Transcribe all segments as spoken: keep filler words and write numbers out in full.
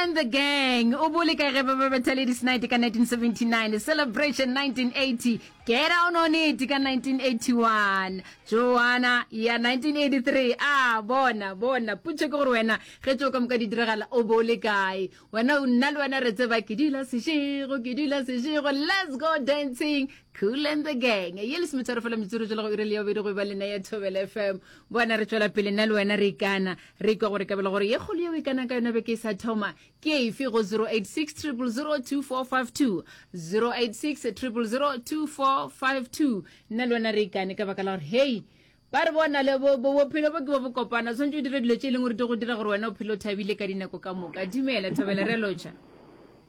and the Gang. O bole ka ge ba ba betha Ladies Night ka nineteen seventy-nine, Celebration nineteen eighty, Get Down on It ka nineteen eighty-one, Joanna ya nineteen eighty-three. A bona, bona, potšo ke gore wena ge tšeo ka moka di diragala o bo o le kae? Wena, nna le wena re tseba ke dula sešego, ke dula sešego, let's go dancing, Kool and the Gang. Ye lesometharo fela metsotso tšwela go iri le ya bobedi go e ba le nna ya Thobela F M. Bona re tšwela pele nna le wena re ikana, re ikwa gore kabelo gore ye kgolo yeo e ikanang ka yona beke e sa thoma ke efe go zero eight six triple zero two four five two, zero eight six triple zero two four five two. Nna le wena re ikane ka baka la gore hei ba re bona le bo, bo, bophelo bo ke bo bokopana, o tshwanetse o dire dilo tše e leng gore di go dira gore wena o phele o thabile ka dinako ka moka. Dumela Thobela, re a lotšha.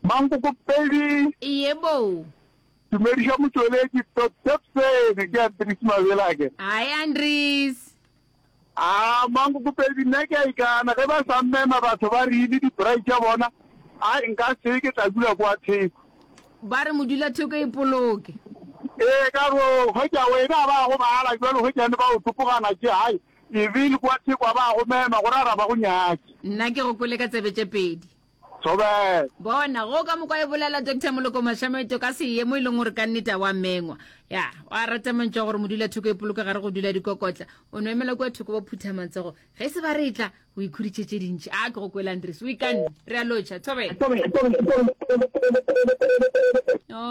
Mankoko pedi. Yebo. Dumediša motšweletši Topsene, ke Andries Mabelake. Hi Andries. A Mankoko pedi, nna ke a ikana ge ba sa mmema batho ba re ile di-braai tša bona, ai nka se ke tla dula kwa theko. Ba re modula thoko e poloke. Ee, ka re hwetša wena ba go bala jwalo hwetšane ba o topogana tše, hai e bile kwa theko ba go mema gore a ra ba go nyake. Nna ke go kwele ka tsebe tše pedi. Thobela. Bona, go ka mokwa e bolela Doctor Moloko Mashameto ka seemo e leng gore ka nnete a wa mengwa. Ya, wa rata mantšu a gore modula thoko e poloke gare go dula dikokotla. O no emela kua thoko ba phutha matsogo. Ge se ba re tla, o ikhuditše tše dintši. A ke go kwele Andries, o ikanne. Re a lotšha. Thobela.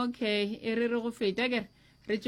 Okay, e re re go feta kere.